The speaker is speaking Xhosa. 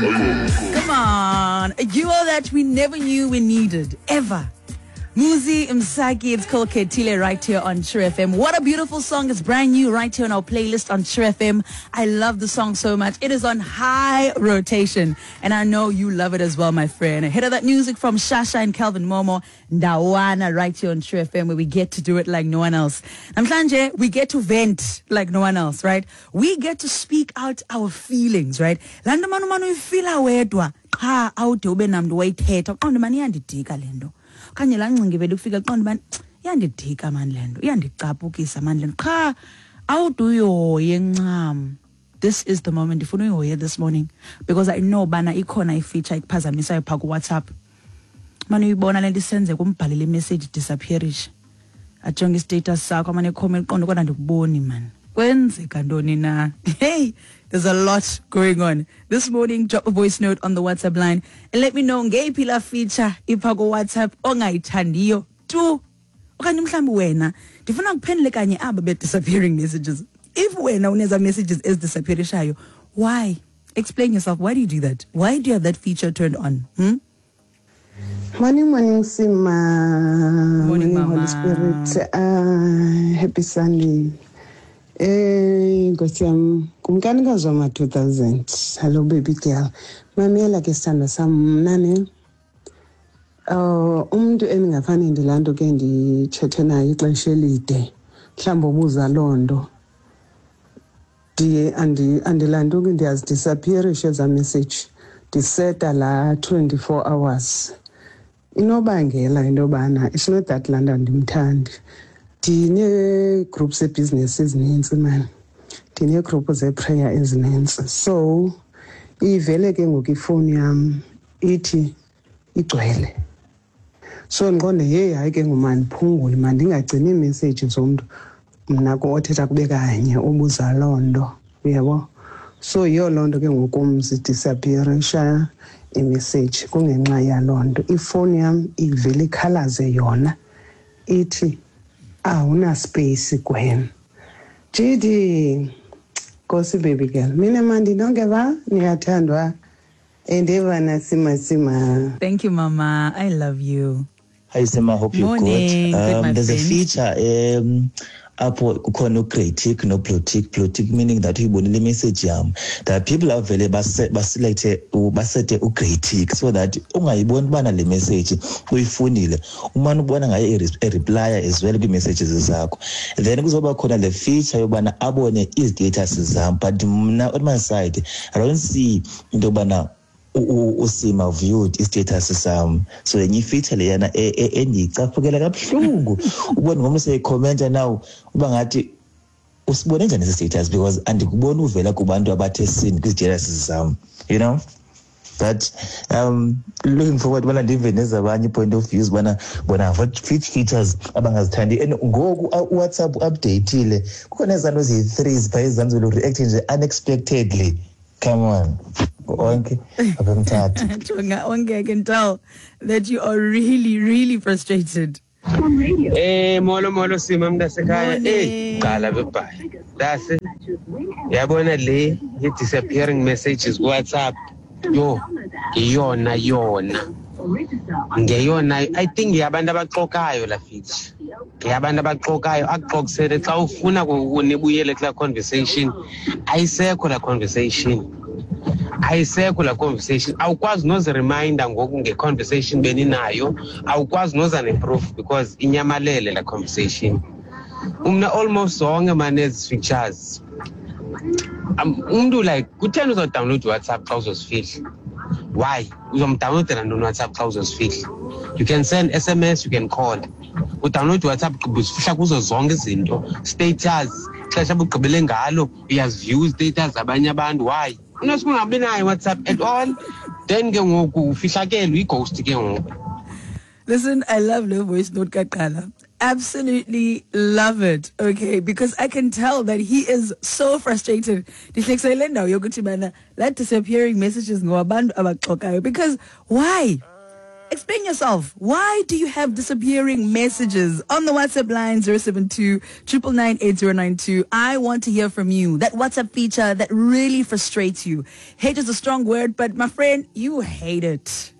Come on, a duo that we never knew we needed, ever. Muzi Msaki, it's called Ketile right here on True FM. What a beautiful song. It's brand new right here on our playlist on True FM. I love the song so much. It is on high rotation. And I know you love it as well, my friend. Ahead of that music from Shasha and Kelvin Momo, Ndawana right here on True FM, where we get to do it like no one else. Namhlanje, we get to vent like no one else, right? We get to speak out our feelings, right? Laa nto mani umane uyifila wedwa qha awude ube namntu wayithetha uqonde mani iyandidika le nto okanye laa ngcinga ivele ukufika qonde mani iyandidika mani le nto iyandicaphukisa mani le nto qha awude uyihoye ncam. This is the moment ndifuna uyihoye this morning, because I know bana ikhona ifeature ikuphazamisayo phaa kuWhatsApp. Mane uyibona le nto isenzeka, umbhalele imessage disappearishe, ajonge istatus sakho, amane ekhome eqonde kodwa ndikuboni mani. Kwenzeka ntoni na? Hey, there's a lot going on this morning. Drop a voice note on the WhatsApp line and let me know ngeyiphi la feature ipha kuWhatsApp ongayithandiyo tu, okanye mhlawumbi wena ndifuna kuphendule kanye aba be-disappearing messages. If wena uneza messages ezidisappearishayo, why? Explain yourself. Why do you do that? Why do you have that feature turned on? Morning, morning, Sima. Morning, Morning, Holy Mama. Spirit. Happy Sunday. Nkosi yam, kumkanikazi wama-2000. Hello, baby girl. Mamela ke sithandwa sam, mna ne. Umntu endingafane ndilaa nto ke nditshethe naye ixesha elide, mhlawumbi obuza loo nto, ndiye andilantuki, ndiyazidisappearisha ezaa message, ndiseta laa 24 hours. Inobangela into yobana it's not that laa nto andimthandi. Ndinee-groups zebhizinesi ezinintsi mani, ndinee-group zeprayer ezinintsi, so ivele ke ngoku ifowuni yam ithi igcwele. So ndiqonde, heyi, hayi ke ngoku mandiphungule, mandingagcini iimessage zomntu mna othetha kube kanye obuza loo nto, uyabo. So yiyo loo nto ke ngoku kum zidisappearisha imessage, kungenxa yaloo nto. Ifowuni yam ivele ikhalaze yona ithi awuna space Gwen. GD, Nkosi baby girl, mina mandi nonke ba niyathandwa endevana sima sima. Thank you, Mama. I love you. Hi Sima, hope you're good. Morning. Good, my There's a friend. feature apho kukhona u-grey tick no-blue tick. Blue tick meaning that uyibonile imessage yam. There are people avele baselecte, basete u-grey tick so that ungayiboni ubana le message uyifunile, umane ubona ngaye ereplya as well kwii-messages zakho. Then kuzoba khona le feature yobana abone izi-status zam, but mna on my side I don't see into yobana uSima viewed istatus sam. So yenye ifeature leyana endiyicaphukela kabuhlungu, ubone ngomntu seyikhomenta now uba ngathi usibone njani esi status, because andikuboni uvela kubantu abathe seen kwi-status zam, you know. But looking forward ubana ndive nezabanye point of views ubana bona what features abangazithandi. And ngoku uWhatsApp updateile, kukhona ezaa nto ziyi-three ziphaa ezantsi react nje unexpectedly. Come on, onke apha eMthatha. Jonga, onke, I can tell that you are really, really frustrated. Molo molo Sima mntasekhaya. Morning. Qala bebhayi. Dase. Yabona le ye-disappearing messages ku WhatsApp. Yo, iyona yona. Ngeyona, I think yabantu abaxokayo la feature. Ngeyabantu abaxokayo, akuxoxele xa ufuna nibuyele kulaa conversation. Ayisekho la conversation. Ayisekho la conversation. Awukwazi nozi-reminder ngoku nge-conversation beninayo. Awukwazi noza ne-proof because inyamalele la conversation. Umna almost zonke mane ezi features. Umntu like kutheni uzodownload WhatsApp xa uzozifihla? Why? Uzomdownloadela ntoni WhatsApp xa uzozifihla? You can send SMS, you can call. Udownload WhatsApp ugqiba uzifihla kuzo zonke izinto. Status, ixesha obugqibele ngalo, uyaziview status zabanye abantu. Why? Unosuke ungabi nayo WhatsApp at all. Then ke ngoku ufihlakele, uyi-ghost ke ngoku. Listen, I love le voice note kaqala. Absolutely love it, okay, because I can tell that he is so frustrated. Ndihlekisa le ndawo yokuthi bana that disappearing messages ngowabantu abaxokayo, because why? Explain yourself. Why do you have disappearing messages on the WhatsApp line 072 999 8092? I want to hear from you. That WhatsApp feature that really frustrates you. Hate is a strong word, but my friend, you hate it.